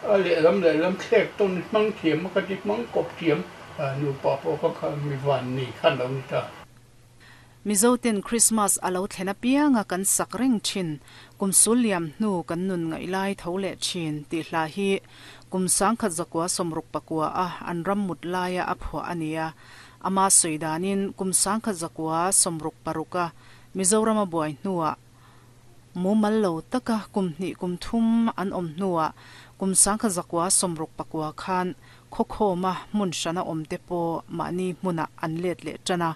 A lehlam lehlam thlek tawn hmang thiam a ka ti hmang kawp thiam nupa pawh ka kha mi van nei khan lo ni ta. Mizoten Krismas a lo thlen apianga kan sak reng thin, kum sul liam hnu kan nun ngaih lai tho leh thin tih hla hi kum 1969 a an ram mut laia a phuah a ni a. Ama sawi danin kum 1966 a Mizorama buai hnuah mumal lo taka kum hnih kum thum an awm hnuah kum 1969 khan khawkhawma hmun hrana awmte pawh mahni hmunah an let leh tan a.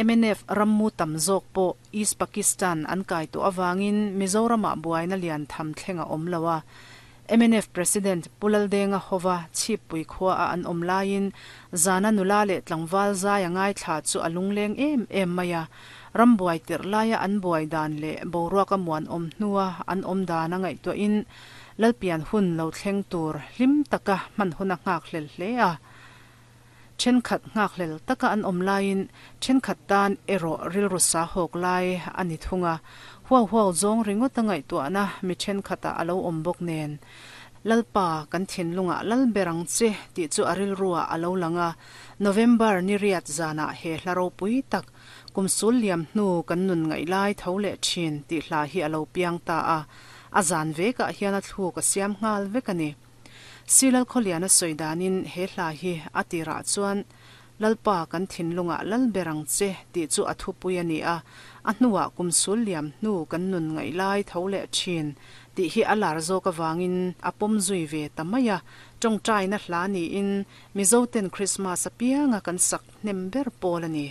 Mnf rammu tam zawk pawh East Pakistan an kai tawh avangin Mizoramah buaina lian tham thleng a awm lo a. Mnf President Pu Laldenga hova Chhippui khua a an awm laiin zana nula leh tlangval zai a ngaithla chu a lungleng em em mai a. Ram buai tirh laia an buai dan leh boruak a muan awm hnua an awm dan a ngaihtuahin Lalpian hun lo thleng tur hlim taka hman hun a nghakhlel hle a. Thenkhat nghakhlel taka an awm laiin thenkhat tan erawh rilru sa hawk lai a ni thung a. Huau huau zawng ringawt a ngaihtuahna mi thenkhatah a lo awm bawk nen. Lalpa, kan thinlungah lal ber ang che tih chu a rilruah a lo lang a. November ni riat zanah he hla ropui tak, kum sul liam hnu kan nun ngaih lai tho leh thin tih hla hi a lo piang ta a. A zan vekah hian a thluk a siam nghal vek a ni. Silal Khawliana sawi danin he hla hi a tirah chuan Lalpa kan thinlungah lal ber ang che tih chu a thupui a ni a, a hnuah kum sul liam hnu kan nun ngaih lai tho leh thin tih hi a lar zawk avangin a pawm zui ve ta mai a, tawngtaina hla niin Mizoten Krismas apianga kan sak hnem ber pawl a ni.